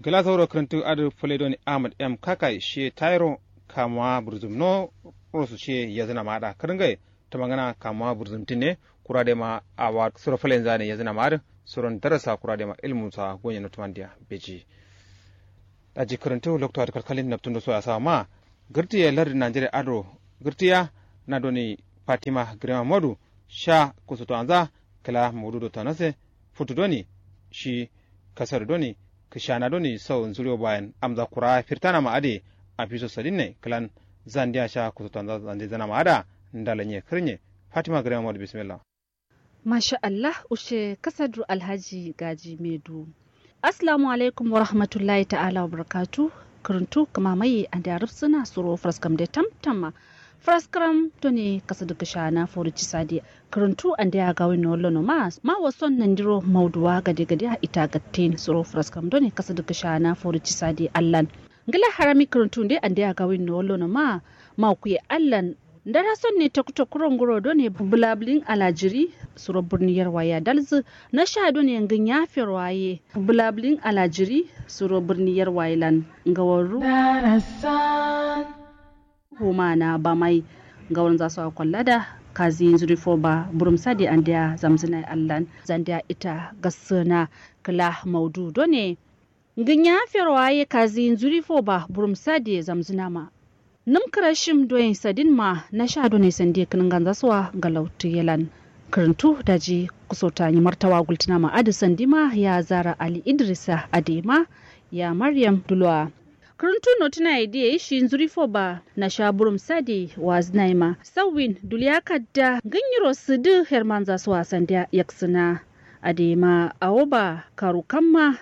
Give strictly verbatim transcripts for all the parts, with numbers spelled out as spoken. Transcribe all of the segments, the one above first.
Kǝla sauro kǝrǝntǝ adǝ fǝle doni ahmad m kakai shiye tayiro kamuwa burzǝm no rosu shiye yazǝna ma adǝ kǝrǝngai. Tǝmangana kamuwa burzǝm tǝne kura dema awa suro fǝlen zane yazǝna ma adǝ suron darasa kura dema ilmu sa gonye no tǝmandiya beji. Daji kǝrǝntǝ loktu adǝ kalkalin naptun do soya sawa ma gǝrtǝ ye lardǝ najeriya adǝ ro gǝrtǝ ya na doni fatima grema modu sha kusutu anza kǝla modu do tanase futu doni shi kasar doni kǝshana doni sau nzuriyo bayan amza kura firtana ma adǝ ye. Afiso sadin ne kǝlan zandiya sha kusutu anza zande zana ma adǝ a ndalanye kǝrnye fatima grema modu bismillah. Masha allah ushe kasadǝ alhaji gaji medu. Assalamu alaikum warahmatullahi ta'ala wabarakatu. Kǝrǝntu kǝma mai andeya rǝfsǝna suro fǝraskam de tamtamma. Fǝraskǝram done kasadǝ kǝshana fori cisadiya. Kǝrǝntu andeya gawin no wallono ma ma wason nandiro mauduwa gade gade a ita gattin suro fǝraskam done kasadǝ kǝshana fori cisadiya allan. Ngla harami kǝrǝntu nde andeya gawin no wallono ma ma kuye allan. Ndara son ne tokko tokko ronguro done bǝlabǝlin alajiri suro bǝrni yarwa ye adalzǝ. Nasha done ngǝnya ferwa ye bǝlabǝlin alajiri suro bǝrni yarwa ye lan ngawarru. Huma na bamai ngawar nza so akollada kazi nzuri fo ba burum sadi andeya zamzǝna ye allan. Zandeya ita gassǝna kǝla maudu done ngǝnya ferwa ye kazi nzuri fo ba burum sadi ye zamzǝna ma. Nǝm kǝrashim doyin sadin ma nasha done sandi ye kǝnǝnganza so a galautǝ ye lan. Kǝrǝntu daji kusota nyi martawa gultǝna ma adǝ sandi ma ya zara ali idrisa adǝ ye ma ya maryam dulo a. Kǝrǝntu notǝna ye diye shi nzuri fo ba nasha burum sadi wazǝna ye ma sauwin duliya kadda ngǝnyiro sǝdǝ hermanza so a sandiya yaksǝna. Adǝ ye ma awo ba karu kamma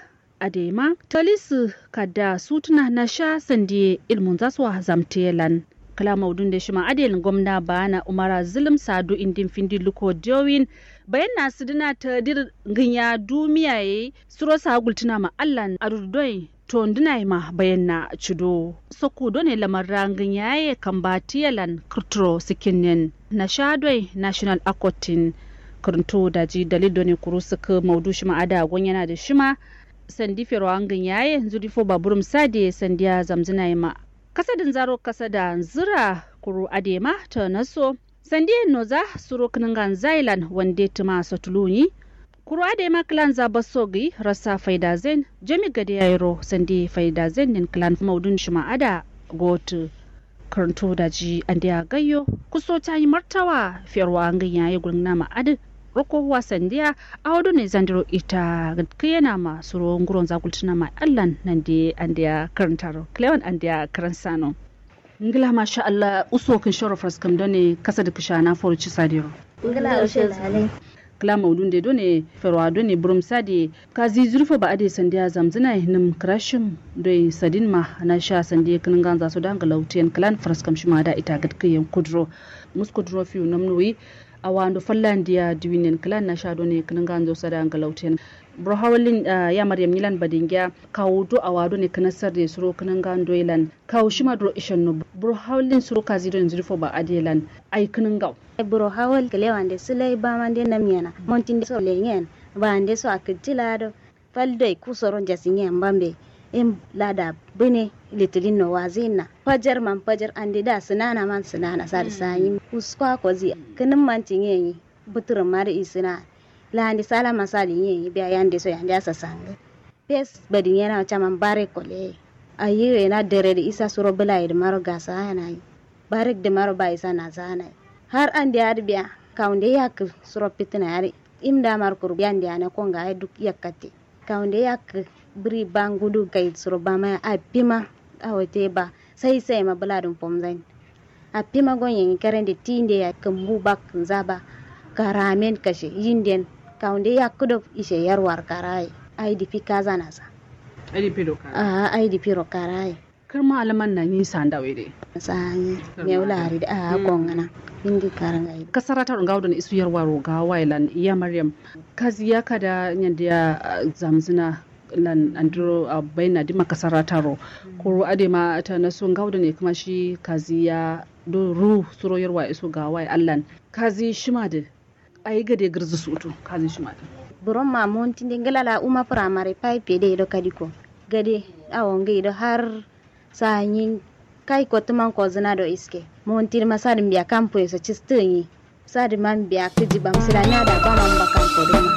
adai ma talisǝ kadda sutǝna nasha sandiye ilmunza so a zamtǝ ye lan. Kǝla maudun de shima adai lan gomna baana umara zǝlǝm sadu indin findi luko diyowin bayanna sǝdǝna tadir ngǝnya dumiya ye suro sa gultǝna ma allan adududoi tondǝna ye ma bayanna cudo. Sokku done lamarra ngǝnya ye kambatǝ ye lan kǝrturo sǝkkin nen nasha doi national akotin. Kǝrǝntu daji dalil done kuru sǝkkǝ maudu shima ada gonyana dǝ shima sandi ferwa ngǝnyaye nzuri fo baburum sadiye sandiya zamzǝnaye ma. Kasadǝnzaro kasada nzǝra kuru adǝye ma tanaso sandiye noza suro kǝnǝnganzaye lan wande tǝma sotuluwunyi. Kuru adǝye ma kǝlanza baso gǝyi rassa faidazain jami gade yayiro sandi faidazain nin kǝlan maudun shima ada gotǝ. Kǝrǝntu daji andeya gaiyo kuso cayi martawa ferwa ngǝnyaye gulngǝnama adǝ roko wa sandiya. Awo done zandiro ita gǝtkǝyenama suro nguronza gultǝnama allan nande andeya kǝrǝntaro kǝlewan andeya kǝrǝnsano. Ngla masha allah uso kǝnshoro faraskam done kasadǝ kǝshana foro cisadiro. Ngla ushe lale. Kla maudunde done ferwa done burum sade kazi zurfo ba ade sandiya zamzǝnaye nǝm kǝrashim doi sadinma nasha sandiye kǝnǝnganza so da nglautiyen klan faraskam shima da ita gǝtkǝyen kuduro. Muskuduro fiu namnuwi. Awando fallandiya diwinen klan nasha done kǝnǝnganzo so da nglautiyen. Buro hawallin ya maryam nyilan badingiya kawu do awa done kǝnasarde suro kǝnǝngan doilan kawu shima duro ishenno. Buro hawallin suro kazi done zurfo ba adelan ai kǝnǝngawo. Buro hawal kǝlewande sǝlai bamande namyena montinde so lenyen. Bande so akǝttila do fal doi kusoro njasinyen bambe. Im lada bǝne litilin no wazǝyinna fajar man fajar ande da sǝnana man sǝnana sadǝ sanyi. Kuskwa kozi kǝnǝm man cinyenyi bǝtǝrǝm ma dǝ isǝna. Lande salama sadǝ nyenyi biya yande so yande asa sangǝ. Fes badin yena caman barek kole. Ayi wena dere dǝ isa suro bǝlaye dǝ maro gasa yanayi. Barek dǝ maro ba isa nasa yanayi. Har ande adǝ biya kawunde yakkǝ suro fitina adǝ im da maro kuru yande ane konga ye duk yakkatte. Kawunde yakkǝ bǝri ba ngudu gai suro bama ye affima. Awo te ba sai sai ma bǝladǝn fomzain. Affima gonyenyi karande tinde ya kǝmbu bakkǝnza ba. Karamen kashe yinden kawunde yakkǝ do ishe yarwar karaye. Ai difi kazanasa. Ai difi ro karaye. Kǝrma alaman nanyi sandawe de. Sanyi. Mewu lari de a kongana. Indi karangai. Kasarata ro ngawo done isu yarwa ro gawaye lan ya maryam. Kazi ya kada nyandiya zamzǝna lan andiro baina dima kasarata ro. Kuru adema tanaso ngawo done kǝma shi kazi ya do ru suro yarwa isu gawaye allan. Kazi shima dǝ. Ayi gade gǝrzǝ sutu kazi shima dǝ. Buron ma montinde ngla la uma firamare five ye doi do kadiko. Gade awo ngai do har sa'a nyi. Kai kottu man kozǝna do iske monti dǝ ma sadǝn biya kampoye so cistǝ nyi. Sadǝ man biya kǝji bam silamiya da ba man ba kampo dǝ ma.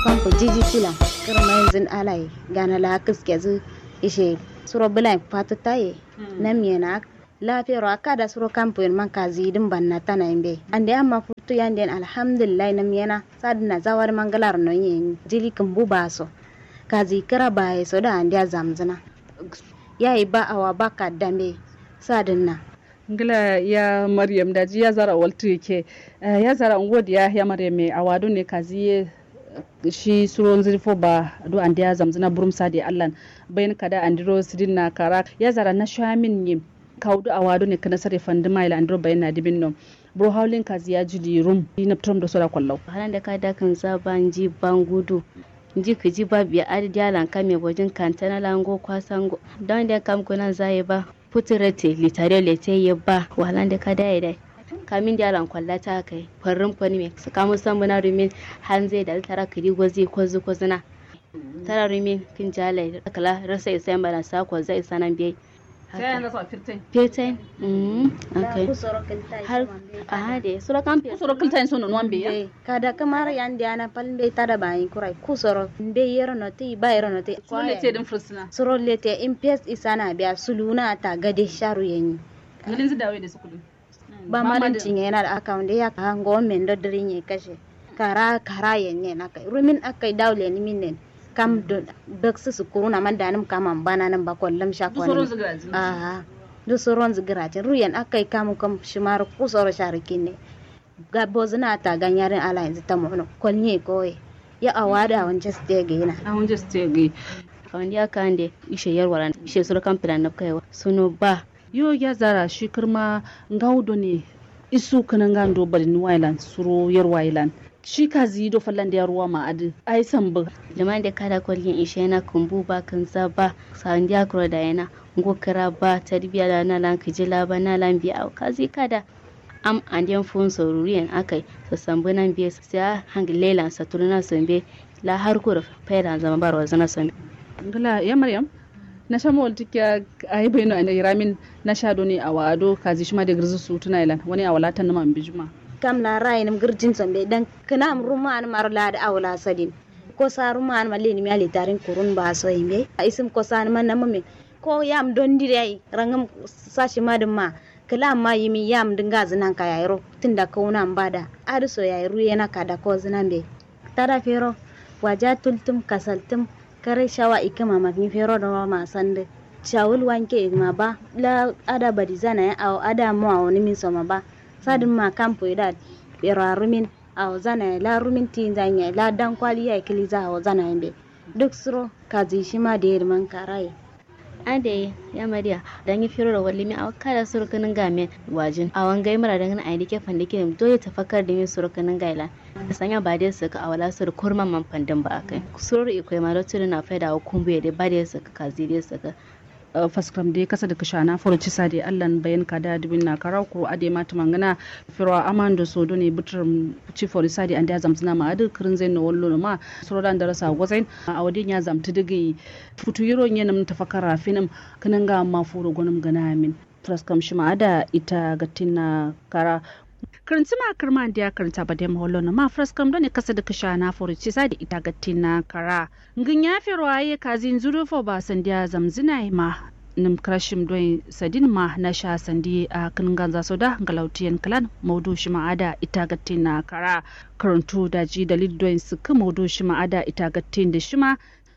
Kampo jiji filan kǝrma yinzǝn alaye gana la kǝskezǝ ishe suro bǝlayin fatǝ taye. Namiyena lafiyaro akka da suro kampoyen man kaziyi dǝn bannatana yimbe. Ande amma futu yandeyen alhamdulillahi namiyena sadǝnna zawadu man gǝlaro noyi ye nyi jili kǝmbu ba so. Kaziyi kǝra baye so da andeya zamzǝna. Yayi ba awa ba kadda mbe sadǝnna. Ngla ya maryam daji ya zara waltu yake. Ya zara ngo diya ya maryam me awa done kaziye. Shi suro nzǝ fo ba do andeya zamzǝna burum sade allan. Bayin kada andiro sidin na kara ya zara na shamin ye. Kawu do awa done kǝna sare fandima ila andiro bayin na dibin no. Buro hawlin kaziya jili rum yi naptrom do sora kwallau. Halande kada kǝnza ba nji ba ngudu. Nji kǝji ba biya adǝ diya lan kame bojin kantana lango kwasango. Don de kam kunan zaye ba. Putu rete litariyo lete ye ba wahalande kada ye dai. Kamin diya lan kwallata kai farrin fanime sǝkamu sambuna rumin. Hanze da tara kǝdi gozi kozi kozina. Tara rumin kǝnjalai kǝla rasa isa yamba lan sa koza isa nan biyai. Fetain. Har aha de suro kam fetain suro kǝltain so nonuwan biyai. Kada kǝmar yande ana fal mbe tada bayin kurai kusoro mbe yero noti ba yero noti. Suro lete dǝn fursuna suro lete in fes isana biya suluna ta gade sharu yenyi. Ngǝlinzǝ dawe de sukudun. Ba malin cinye yana da aka wunde ya kaha ngo men do dǝrin ye kashe. Kara kara yenye na kai rumin akai daule ni minen. Kam do baksǝ sukuru na man danǝm kaman bananǝm ba kollum sha kollum. Aha. Duk suronzǝ gǝrajin ruyen akai kam kam shima ru kusoro sha ru kinne. Ga bozǝna ta ganyarin ala yanzu ta mono kolnye koye. Ya awa da awon jaste gaina. Awon jaste gai. Awon ya kande ishe yarwaran ishe suro kam filan nabkaiwa suno ba. Yo ya zara shi kǝrma ngawu done. Isu kǝnǝngan do badin wailan suro yarwailan. Shi kaziyi do fallan diya ruwa ma adǝ ai sambǝ. Liman de kada kolgin ishe na kǝmbu ba kǝnza ba. Sandiya kuro da yana. Ngo kǝra ba tarbiya la na lan kǝji la ba na lan biya awo kaziyi kada. Am andeyen fuwun so ruruyen akai. Sasambǝ nan biye sai a hangǝ lelan satuluna so mbe. La har kuro failan zama ba rozana so mbe. Ngla ya maryam. Nasha mawal tukkiya. Ayi baino ande iramin. Nasha done awa ado kazi shima de gǝrzǝ sutuna ilan wani awa la tannǝma mbijima. Kam la rayinǝm gǝrjin so mbe dan kǝnam rumanǝm aro la adǝ awo la sadin. Kosa rumanǝm allenǝm ya litarin kurun ba so yimbe. Isǝm kosanǝma namǝmin. Ko yam don diri ai rangǝm. Sa shima dǝmma. Kǝla amma yimin yam dǝ ngazǝ nanka yayiro. Tunda kauna mbada adǝ so yayi ruye naka da kozǝna mbe. Tada fero. Waja tultǝm kasaltǝm. Kare shawa ikkǝma mafin fero doma ma sandǝ. Shawul wanke ma ba la ada badizana ye awo ada mo awo nǝmin so ma ba. Sadǝn ma kampo ye da. Fero a rumin. Awo zana ye la rumin tinza ye la dankwali yayi kǝliza awo zana ye mbe. Duk suro kazi shima deri man karaye. Adai ya mariya. Danyi fero ro wallimi awo kada suro kǝnǝnga men. Wajin awo ngai mura dangǝna ayi dike fandike doi tafakkar dǝmin suro kǝnǝnga ye lan. Sanya ba dai sǝkǝ awo la suro kurman man fandǝm ba akai suro ro iko ye ma loktu dǝ na faida awo kumbu ye dai ba dai sǝkǝ kazi dai sǝkǝ. Faskǝram dai kasa dǝ kǝshana foro cisa dai allan bayan kada dǝbin na karaw kuru adai ma tǝmangǝna. Fero amando so done bǝtǝrǝm. Ci fori sadi andeya zamzǝna ma adǝ kǝrǝnzain no wallono ma. Suro dan darasa gozain. Awo dai nya zamtǝ dǝ gǝyi. Futu yiro nyenǝm tafakkar rafinǝm. Kǝnǝnga amma furo gonǝm gǝna amin. Fǝraskam shima ada ita gattin na kara. Kǝrǝntǝma kǝrma andeya kǝrǝnta badema wallono ma fǝraskam done kasa dǝ kǝshana foro cisa dai ita gattin na kara. Ngǝnya fero aye kazi nzuru fo ba sandiya zamzǝna ye ma. Nǝm kǝrashim doi sadin ma nasha sandi a kǝnǝnganza so da ngalautiyen kǝlan maudu shima ada ita gattin na kara. Kǝrǝntu daji dalil doi sǝkkǝ maudu shima ada ita gattin dǝ shima.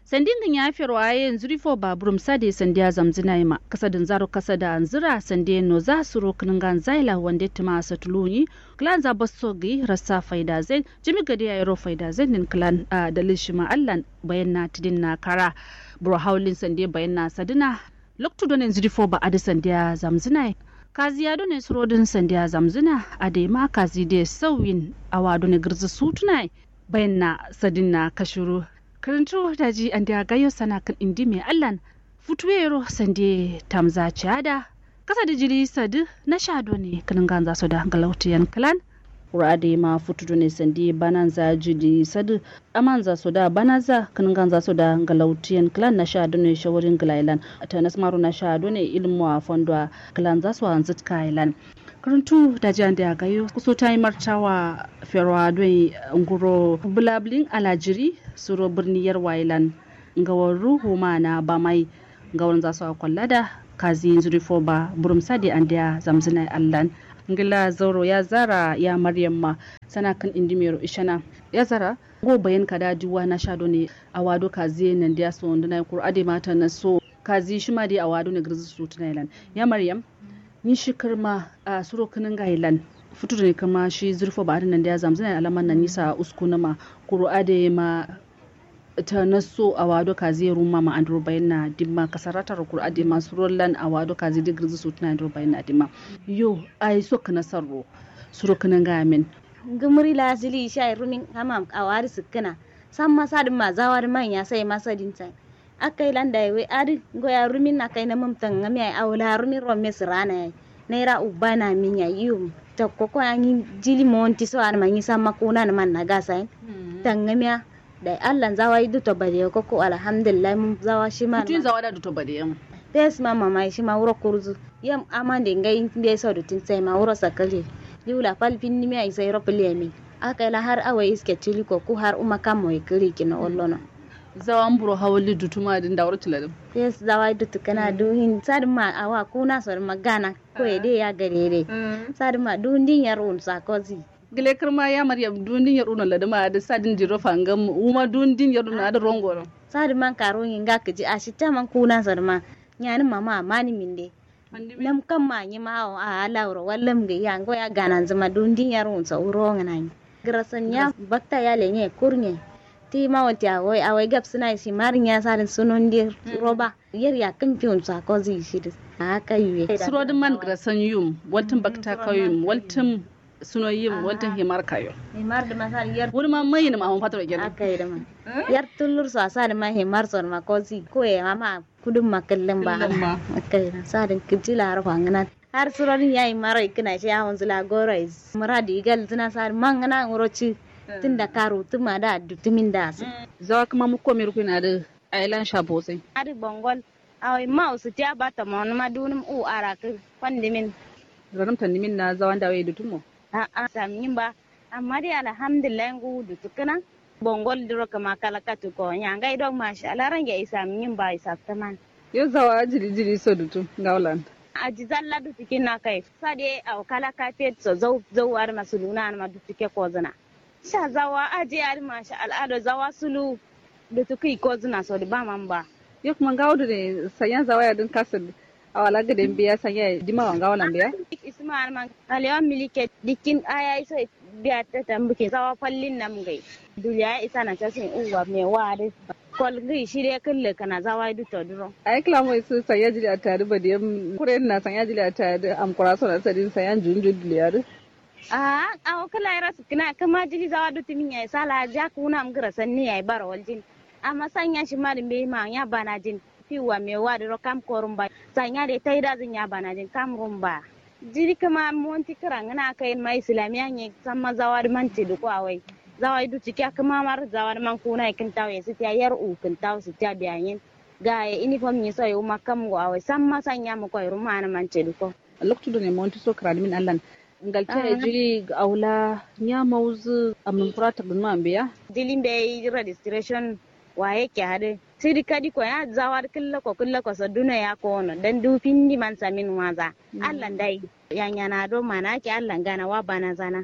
Sandi ngǝnya fero aye nzuri fo ba burum sade sandiya zamzǝna ye ma kasa dǝnzaro kasa da nzǝra sandiye noza suro kǝnǝnganza ye la wande tǝma satuluwunyi. Kǝlanza basso gǝyi rassa faida zain. Jami gade yayiro faida zain din kǝlan a dalil shima allan. Bayan na tǝdin na kara. Buro hawulin sande bayan na sadǝna. Loktu done nzǝ difo ba adǝ sandiya zamzǝna ye. Kaziya done surodǝn sandiya zamzǝna. Adai ma kazi de sauyin. Awa done gǝrzǝ sutǝna ye. Bayan na sadǝn na kashuru. Kǝrǝntu daji andiya gayo sana kǝn indi me allan. Futuwe yero sande tamza ciya da. Kasa dǝ jiri sadǝ nasha done kǝnǝnganza so da ngalautiyen kǝlan. Kuru adǝ ye ma futu done sandi bananza jidi sadǝ. Amanza so da banaza kǝnǝnganza so da ngalautiyen kǝlan nasha done shawarin gǝlailan. Tanas maro nasha done ilmu a fondo a kǝlanza so a nzǝtka ilan. Kǝrǝntu daji ande a gayo kuso tayi martawa. Ferwa done nguro bǝlabǝlin alajiri suro bǝrni yarwa ilan. Ngawarru huma na bamai. Ngawarnza so a kwallada kazi nzuri foba burum sadi andeya zamzǝnai allan. Ngla zauro ya zara ya maryam ma sana kǝn indimero ishana. Ya zara ngo bayan kada diwa nasha done. Awa do kazi ye nandeya so ndǝnai kuru adai ma tana so kazi shima dai awa done gǝrzǝ sutǝnai lan. Ya maryam nyi shi kǝrma a suro kǝnǝngai lan futu done kǝrma shi zuri foba adǝ nandeya zamzǝnai alaman nan nyi sa uskunǝma. Kuru adai ma tana so awa do kazi ye rumma ma andiro bayin na dimma kasarata ro kuru adai ma suro lan awa do kazi dǝ gǝrzǝ sutǝna andiro bayin na dimma. Yo ai so kǝna sarro suro kǝnǝngai amin. Ngǝmǝri la zili isha ye rumin hamam awa dǝ sǝkkǝna. Samma sadǝ ma zawa dǝ man ya sai ma sadin sai. Akkai lan dai wai adǝ ngo ya rumin akkai namǝm tangami ai awo la rumin romme sǝrana yai. Naira ubana min ya iyo. Tokko ko ya nyi jili monti so adǝ ma nyi samma kuna nǝman na gasa yin. Tangami ya. Dai allan zawa yi duto bade yo kokko alhamdulillah mun zawa shima. Mutu yin zawa da duto bade yam. Fes ma mama yi shima wuro kurzu. Yam amande ngai mbe so dutin sai ma wuro sakali. Liwla fal finni mi ya isai ro pili yamin. Akkai la har awai iske tili ko ku har uma kammo yi kǝri kino wallono. Zawa mburo hawalli dutuma dǝ ndawuro tǝladǝm. Fes zawa yi dutu kǝna du hin sadǝ ma awa kuna so dǝ ma gana. Koye dai ya gade dai. Sadǝ ma du ndin yar wun sakozi. Gǝle kǝrma ya maryam dundin yar uno ladǝma adǝ sadin diro fangam wuma dundin yar uno adǝ rongo no. Sadǝ man karo nyi nga kǝji ashitta man kuna sadǝ ma. Nyanǝm mama amani minde. Nam kam ma nyi ma awo a ala wuro wallam gǝ ya ngo ya gananzǝ ma dundin yar unso wuro ngǝna nyi. Gǝrasan ya bakta ya lenye kurnye. Ti ma wanti awoi awoi gabsǝna ishi marin ya sadin sunon dir roba. Yer yakkǝn fiwun so akozi ishidǝ. Aha kaiwe. Surodǝ man gǝrasan yum waltǝm bakta kauyum waltǝm. Suno yim waltǝm himar kayo. Himar dǝ masal yer wudǝ ma mayinǝm ahun fatoro gena. Akai dǝ ma. Yer tullur so asa dǝ ma himar so dǝ ma kozi koye ma ma kudum ma kǝllǝm ba. Akai dǝ sadǝn kǝji la har fangǝnan. Har surodǝn yayi maro ikkǝna shi ahun zǝla goro is muradi igal zǝna sadǝ mangǝna nguro ci. Tunda karu tǝma da addu tǝmin da asǝ. Zawa kǝma mukko mirukuna dǝ. Ailan sha bosai. Adǝ bongol. Awai ma usutiya ba tamonuma dunum u arakǝ. Fandimin. Ranǝm tandimin na zawanda wai dutumo. A'a samyin ba. Amma dai alhamdulillah ngu dutukǝna. Bongol duro kǝma kala katuko nya ngai dok masha allah range isamyin ba isaftǝman. Yo zawa jiri jiri so dutu. Ngaulan. Aji zalla dutukin na kai sade au kala kafet so zau zau adǝma suluna adǝma dutuke kozǝna. Sha zawa aje adǝ masha al'ado zawa sulu. Dutu kǝyi kozǝna sodǝ ba man ba. Yo kǝma ngawo dǝne sanya zawa yadǝn kasǝl. Awala gǝden biya sanya ye dima wa ngawo lan biya. Isma adǝ man alewa milike dikkin aya iso. Biya tatambukin zawa fallin nam ngai. Duliya isana casin uwa mewa adǝ. Kol ngai shire kǝlle kǝna zawa ye duto duro. Ai kǝla mo isu sanya jili atta adǝ badiyam kuren na sanya jili atta adǝ amkura sona sadin sanya njunjun duliya adǝ. Aa awo kǝla yero sǝkkǝna kǝma jili zawa dutǝmin yayi sala ja kǝwunam gǝra sanni yayi baro waljin. Amma sanya shima dǝ mbeyi ma nya banajin. Fiwwa mewu adǝ ro kam korumba sanya dai taidazǝn nya banajin kam rumba. Jili kǝma monti kǝrangǝna kayin ma islamiya nye samma zawa dǝ man cǝdǝ ko awai. Zawa dǝ dutu kiya kǝma mar zawa dǝ man kǝwunayi kǝntawu ye sǝtiya yar uwu kǝntawu sǝtiya biya nyen. Gaye inifom nyi so ye wuma kam ngo awai samma sanya mukoyi rumma anǝ man cǝdǝ ko. Loktu done monti so kǝranǝmin allan. Ngalta ye jili aula nya mawuzǝ amnǝm kura takdǝnǝma mbeya. Jili mbeyi registration waye ke adǝ. Sidi kadi ko ya zawar kǝllako kǝllako so duno ya kowono dan du findi man samin waza. Allan dai. Yanyana do mana ke allan gana wa banazana.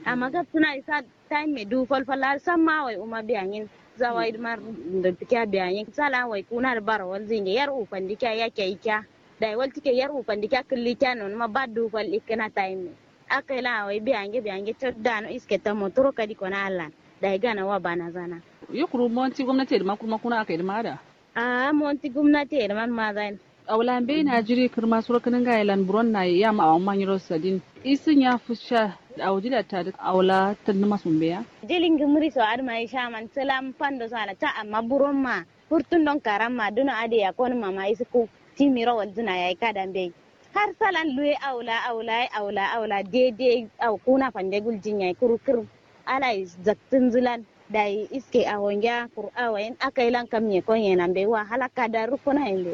Amma gabsǝna isa time me du falfal har samma wai wuma biya nyin. Zawai dǝ mar ndǝ tikiya biya nyin sala wai kuna dǝ baro walzǝ nge yar uwu fandi kiya yake ikiya. Dai wal tike yar uwu fandi kiya kǝlli kiya nonǝma ba du fal ikkǝna time me. Akkai lan awai biyange biyange cot dano iske tammo turo kadi kona allan. Dai gana wa banazana. Yo kuru monti gomnati ye dǝma kurma kuna akkai dǝma ada. Aa monti gomnati ye dǝman mazayin. Awo la mbeyi na jiri kǝrma suro kǝnǝngaye lan buron naye yam awamma nyiro sadin isǝ nya fusha. Awo jili atta dǝ awo la tǝnnǝma so mbeya. Jili ngǝmǝri so adǝma ye shaman sǝlam fando so ala ta amma buron ma. Furtun don karam ma duno adǝ yakonǝma ma isǝ ku timiro walzǝna yayi kada mbeyi. Har salan luwe awo la awo la ye awo la awo la dai dai awo kuna fande guljin yayi kuru kǝr. Alai zaktǝnzǝ lan dai iske awo ngiya kuru awo yen akai lan kam nye kon yen ambe wa hala kada rukkuna yen be.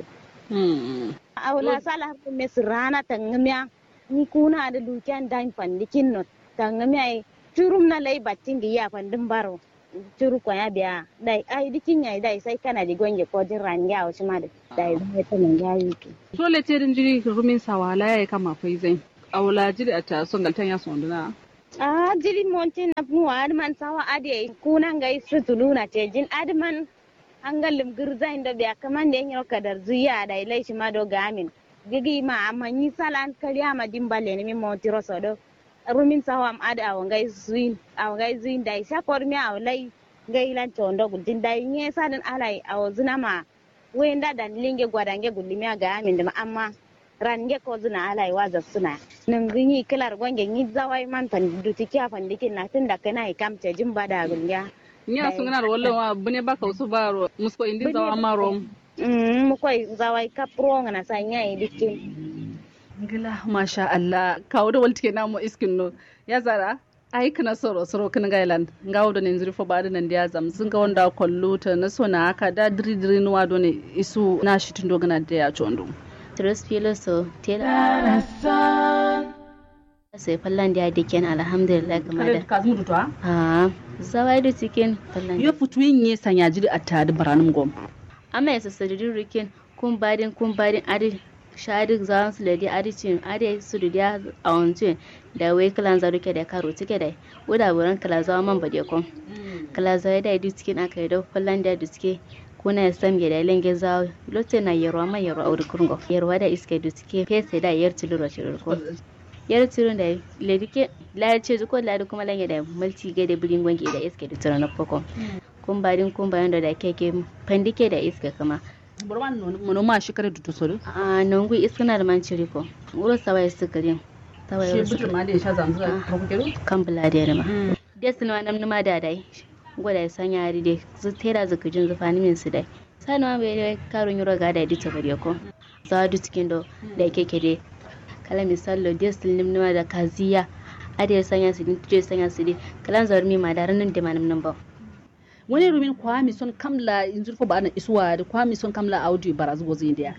Awo la sala har kumme sǝrana tangǝmiya. Ni kuna adǝ lukiyan dan fande kinno tangǝmiya ye. Curum na lai battin giya fandin baro. Curu koya biya dai ai dikin yayi dai sai kana di gonge ko din range awo shima de dai zai ta manga yiki. Sole te din jiri rumin sawala yayi kama fai zai. Awla jiri a ta son galtan ya son duna. A jiri montin na nuwa adman sawa ade kuna ngai sutuluna te jin adman. Hangal lum gǝrzain do biya kǝman de nyiro kadar zuya dai lai shima do gamin. Gigi ma amma nyi salan kaliya ma dimba lenimi montiro so do. Rumin sawam adǝ awo ngai zuyin awo ngai zuyin dai sha kormiya awo lai. Ngai lan condo guljin dai nye sadǝn alai awo zǝnama. Wai nda dan linge gwadange gullimiya gamin dǝma amma. Range kozǝna alai wa zaksǝna. Nǝngǝ nyi kǝlar gonge nyi zawai man fandi dutikiya fandikin na tunda kǝna ye kam cejin bada gulngiya. Nya sungana ro wallo ma bune ba kausu ba ro musko indi zawa ma ro. Mukoi zawai kap ro ngana sa nya ye dikkin. Ngla masha Allah kawo do waltike na mo iskin no. Ya zara. Ai kǝna soro soro kǝn ngailan ngawo done nzǝri fo ba dǝ nandi azam zǝnga wanda kollu ta na so na aka da dǝri dǝri nuwa done isu na shitin do gǝna de ya condo. Tiro spilo so tela. Sai fallan dia diken alhamdulillah kama da. Kazmu dutwa. Ah. Zawai du cikin fallan. Yo futuyin ye sanya jiri atta dǝ baranum gom. Amma ya sassadi dǝ rikin. Kum badin kum badin adǝ. Sha adǝ zawon sǝladi adǝ cin adǝ sudu diya. Awon cin. Da wai kǝlanza duke da karo tike dai. Wuda buran kǝlanza wa man bade kon. Kǝlanza wa da du cikin aka yi do fallan da du cike. Kuna ya sam ge da lenge zawo. Lote na yerwa ma yerwa auri kurngo yerwa da iske du cike fese da yer tiluro tilur ko. Yer tilur da ledi ke. Ladi ceji ko ladi kuma lange da multi ge da bidin gonge da iske du tiro na foko. Kum badin kum badin do da keke fandi ke da iske kuma. Burman mono ma shi kare dutu sodu. A nongu iskana da man ciri ko. Wuro sawa ya sikiri. Sawa ya sikiri. Shi butur ma da ya sha zanzu da. Kam bula da ya rima. Des numa nam numa da dai. Ngo da ya sanya ari de zu tera zu kujin zu fani min su dai. Sa numa bai dai karo nyuro ga da ya dito bari ko. Zawa du cikin do. Da ya keke de. Kala misal lo des num numa da kaziya. Ade ya sanya su din tujo ya sanya su din. Kalan zaur mi ma da ranin de ma num num ba. Wani rumin kwa mi son kamla inzur fo ba'ana isuwa da kwa mi son kamla audio barazu gozu indiya.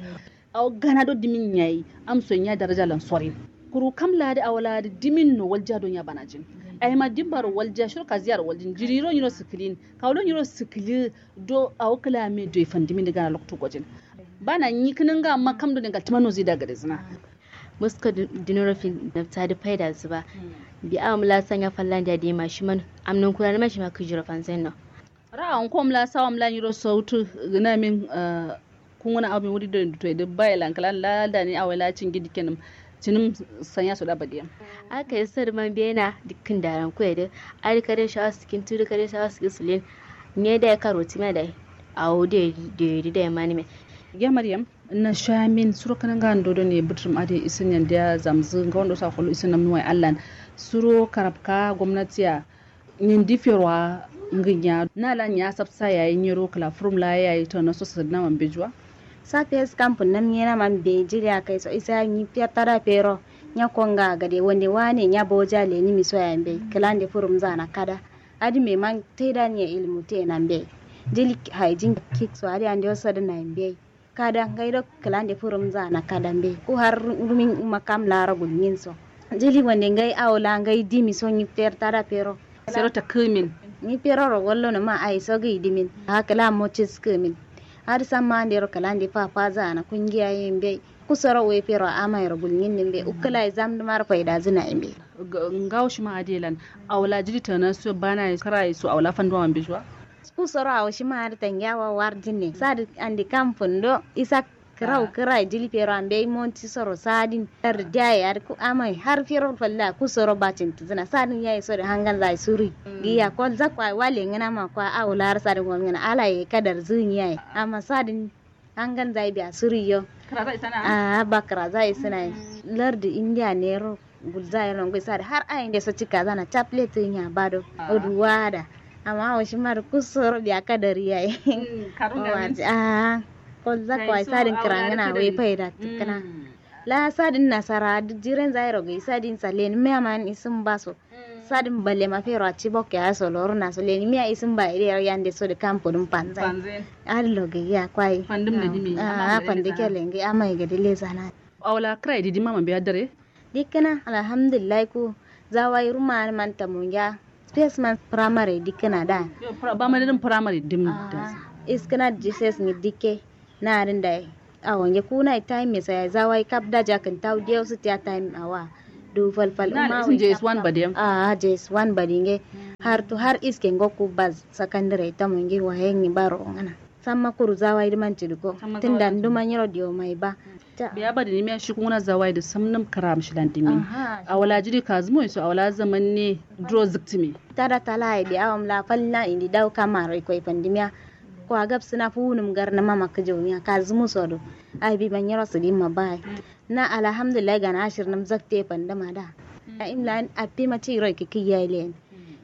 Au gana do dimin yayi. Am son ya daraja lan sorin. Kuru kamla da awala da dimin no walja don ya bana jin. Ai ma dimbaro walja shiro ka ziyar waljin jiriro nyiro sikilin. Ka wado nyiro sikili. Do au kala me do ifan dimin da gana lokto gojin. Bana nyi kinin ga amma kam do ne galtima no zida gade zina. Musko dinoro fin nafta da faida zuba. Bi awam la sanya fallan da dima shiman. Amnan kurani ma shima kujiro fanzen no. Ra'awun kom la sawam la nyiro sautu. Gina min. Kunguna aw min wuri do duto idu baye lankalan la dani awai la cingi dikkenum. Cinum sanya soda badiyam. Aka yi sadu man bena dikkin daran kuye du. Adi kare shawa sikin tudu kare shawa sikin sulin. Nye da ya karo time da. Awo de de de manime. Ya maryam. Na shamin suro kananga ndo do ne butrum ade isin yandiya zamzu nga wando sa kolo isin namnuwai allan. Suro karabka gomnatiya. Nyindi ferwa. Nginya na la nya sabsa yayi nyiro kla furum la yayi to na so sadna man bejuwa. Sa fes kampun nam nyena man be jiri akai so isa nyi ferta da fero. Nya konga gade wande wane nya boja le nyi miso ya mbe klande furum zana kada. Adi me man taida nye ilmu te na mbe. Jili haijin kik so adi ande osadna mbe. Kada ngai do klande furum zana kada mbe ku har rumin uma kam laro gulmin so. Jili wande ngai awo la ngai dimi so nyi ferta da fero. Sero ta kumin. Nyi fero ro gollo no ma ai so gai dimin. Ha kla mo cis kumin. Har samma ande ro klande fa fa zana kungiya yembe. Kusoro we fero ama ro gulmin nimbe ukla zam dumar faida zina imbe. Ngawo shima adelan. Awla jili tana so bana kara so awla fanduwa mbe juwa. Kusoro awo shima adi tangiya wa warjin ne sadi andi kam fundo isa. Kǝrau kǝrai jili fero ambei monti soro sadin lardi diyaye adǝ ku amai har fero falla ku soro bacin tǝzǝna sadin yayi sodǝ hangal zai suri. Giya kol zakko ai wale ngǝna ma kwa awo lar sadin wal ngǝna ala ye kadar zǝnyi yayi amma sadin hangal zai biya suri yo. Kǝra zai sana. Aa ba kǝra zai sǝna ye. Lardi indiya nero gulza ye nongoi sadǝ har ayi nde so cika zana caple tǝnya bado. Odu wada. Amma awo shima dǝ ku soro biya kadar yayi. Aa kol zakko ai sadǝ kǝra ngǝna wai faida tǝkkǝna. La sadin nasara duk jiren zairo ga isadin sa lenimiya man isin baso. Sadin bale ma fero a cibok ya so loruna so lenimiya isin ba ide yande so da kampo dun panzai. Allo ga ya kwai. Fandum da dimi. Ah, fandi kelen ga amai ga dile sana. Awla krai didi mama biya dare. Dikkina alhamdulillah ku zawai ruma man tamunja. Space man primary dikkina da. Ba ma din primary dim da. Iskina jises ni dikke. Na din da. Awo nge kuna time me sai zawai kap da jakin tau diyo su tiya time awa. Du falfal na uma isin js one badi yam. Ah, js one badi nge. Har tu har iske ngo ku baz secondary tamunji waye ni baro ngana. Samma kuru zawai di man cidi ko. Tunda nduma nyiro diyo mai ba. Biya ba da nimiya shi kuna zawai da samnum karam shilan dimin. Awala jiri kazumo iso awala zaman ne duro ziktimi. Tada tala ai biya awam la falna indi dau kamaro iko ipandimiya. Ko agab sina funum gar na mama kajaumiya kazumo sodo. Ai bi manyiro sidin ma bai. Na alhamdulillah gana ashir nam zakte pandama da. A imla api ma ci roi kiki yayi len.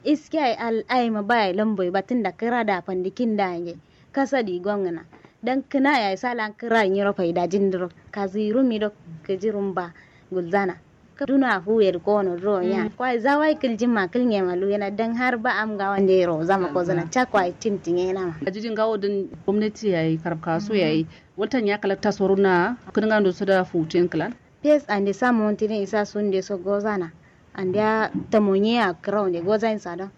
Iske ai al ai ma bai lamboi batin da kira da pandikin da nge. Kasadi gongna dan kina yayi salan kira nyiro faida jindiro kaziru mido kajirum ba gulzana. Duna fu yer kono duro nya kwai zawai kiljima kilnge malu yana dan har ba am ga wande ro zama ko zana cha kwai tintinge na ma. Ajidin gawo din gwamnati yayi karab kaso yayi. Waltan ya kalakta soruna kudin gando su da futin klan. Pes ande samu wantini isa sunde so gozana. Andiya tamonye a kirawo nde gozain sadon.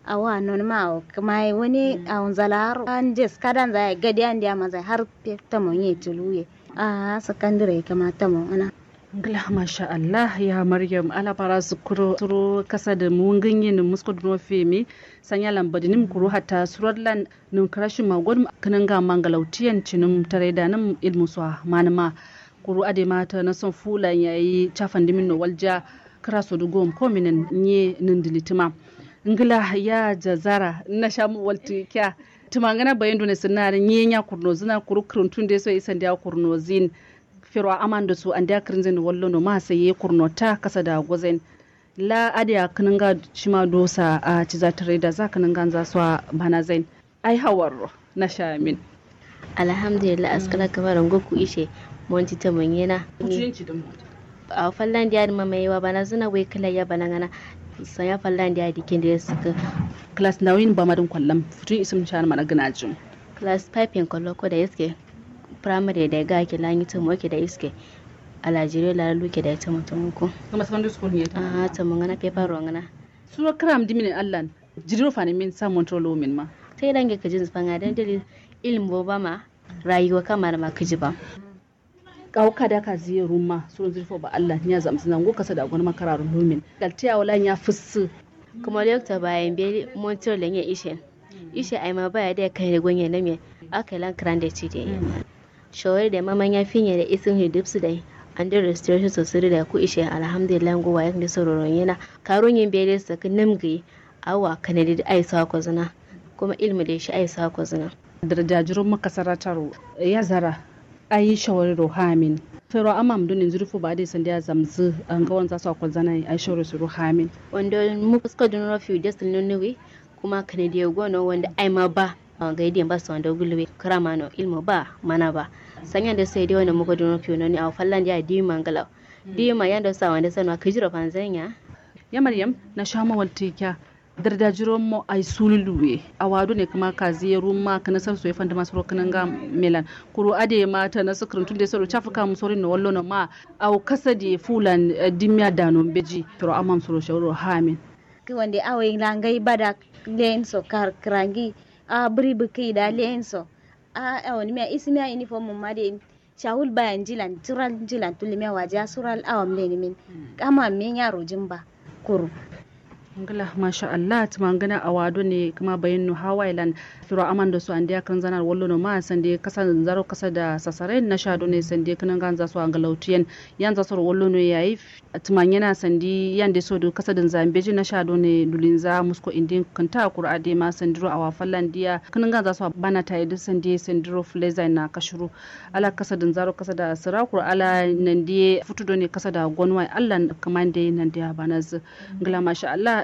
Awo a nonuma awo kamaye wani awo nzalaro an jes kadan zaye gadi andiya mazai har tamonye tuluye. Ahh sakandire kama tamon ana. Ngla masha allah ya maryam ala bara sukuro suro kasa da mungin yin musko duno femi. Sanya lambadi nim kuru hatta surar lan nim karashi magon. Kinanga mangalau tiyan cinim tarai da nim ilmu swa manima. Kuru adai ma ta nason fulan yayi cafan dimin no walja. Kira sodu gom kominan nye nindilitima. Ngla ya jazara na shamu waltu kya. Tumangana bayin dune sinna nye nya kurno zina kuru kurun tunde so isan dia kurno zin. Fero aman da su andia kirinzin wallo no ma sai ye kurno ta kasa da gozen. La adia kininga shima dosa a ciza tare da za kininga za swa bana zain. Ai hawarro na shamin. Alhamdulillah askala kamar ngo ku ishe. Monti ta manyena. Kutuyin ci dum. A fallan dia ma mai wa bana zuna wai kala ya bana ngana. Sanya fallan dia dikin da suka. Class nawin ba madin kwallam futun isim shan mana gina jum. Class five yin kwallo ko da iske. Primary da ga ke lanyi tumo ke da iske. Alajiri la luke da tumo tumo ko. Kuma secondary school ne ta. Ah tumo ngana paper ro ngana. Suro kram dimine allan. Jiriro fani min sa montro lo min ma. Sai dange kajin zufanga dan dalil ilmu ba ma. Rayuwa kamar ma kaji ba. Kawo kada kaziye rumma suron zirfo ba allah nya zamzina ngo kasa da gonma kararo lumin. Galtiya wala nya fussu. Kuma lokta bayan be montro lenye ishen. Ishe aima baya da kane gonye name. Aka lan krande cide. Shawari da mama nya finye da isin hi dipsu dai. Ande restoration so siri da ku ishe alhamdulillah ngo wayak ne sororo yana. Karo nyin be da sakin namgi. Awa kanadi da aisa ko zina. Kuma ilmu da shi aisa ko zina. Darajajiro makasara taro ya zara. Ayi shawari ro hamin. Fero amam dunin zurfu ba dai sandiya zamzu an ga wanza su akwal zana ayi shawari su ro hamin. Wanda muka suka dunuro fiu da sun nunuwi. Kuma kanadi ya gono wanda aima ba. Awan ga idiyan ba su wanda gulwe kira mano ilmu ba mana ba. Sanya da sai dai wanda muka dunuro fiu noni awa fallan da ya diyu mangala. Diyu ma yanda sa wanda sanwa kijiro fanzanya. Ya maryam na shama walti kya. Darda jiro mo ai sulu luwe. Awa done kuma kazi ye rumma kana sar so ye fandama soro kananga melan. Kuru ade ma ta na sukrin tunde soro chafu kam sorin no wallo no ma. Aw kasadi fulan dimya dano beji. Toro amam soro shawro hamin. Ki wande awa langai bada len so kar krangi. A bri biki da len so. A awa ni miya isi miya uniform mum ma de. Shawul baya njilan sural njilan tullumiya wajiya sural awam lenimin. Kama min yaro jimba. Kuru. Ngla masha allah tuma ngana awa done kuma bayin no hawa ilan. Firo aman da su andiya kan zanar wallo no ma sande kasa zaro kasa da sasare na sha done sande kanan ganza su angalautu yen. Yanza soro wallo no yayi. Tuma ngana sandi yande so do kasa din zambeji na sha done dulinza musko indin kanta kuru ade ma sandiro awa fallandiya kanan ganza su bana tayi da sande sandiro fleza na kashuru. Ala kasa danzaro kasa da sira kuru ala nandiye futu done kasa da gonwa ye allah. Kamande nandiya banazu. Ngla masha allah.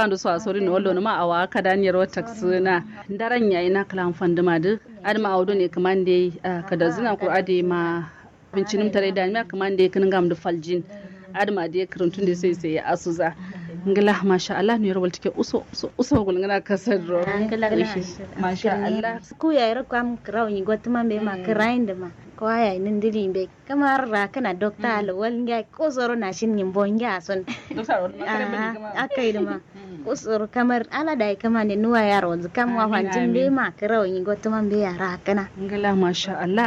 kando so asori no wallo numa awa kada nyero taksina. Ndaran yayi na klan fanduma dǝ. Adǝ ma awo done kǝmande kadazǝna kuru adǝ ma. Bincinum tare da miya kǝmande kǝnǝngam dǝ faljin. Adǝ ma dǝ kǝrǝntun dǝ sai sai asuza. Ngla masha Allah no yero waltike uso uso uso gulngana kasar ro. Masha Allah. Ku yayi ro kam kǝrau nyi gotuma mbe ma kǝrayin dǝ ma. Ko aya nin dili mbe kamar rakana dokta alwal ngai ko soro nashin nyimbo ngai ason. Dokta alwal ma kare bini kama. Akai dǝ ma. Ko soro kamar ala dai kamande nuwa yaro wanzu kam wa fanjin mbe ma kǝrau nyi gotuma mbe ya rakana. Ngla masha Allah.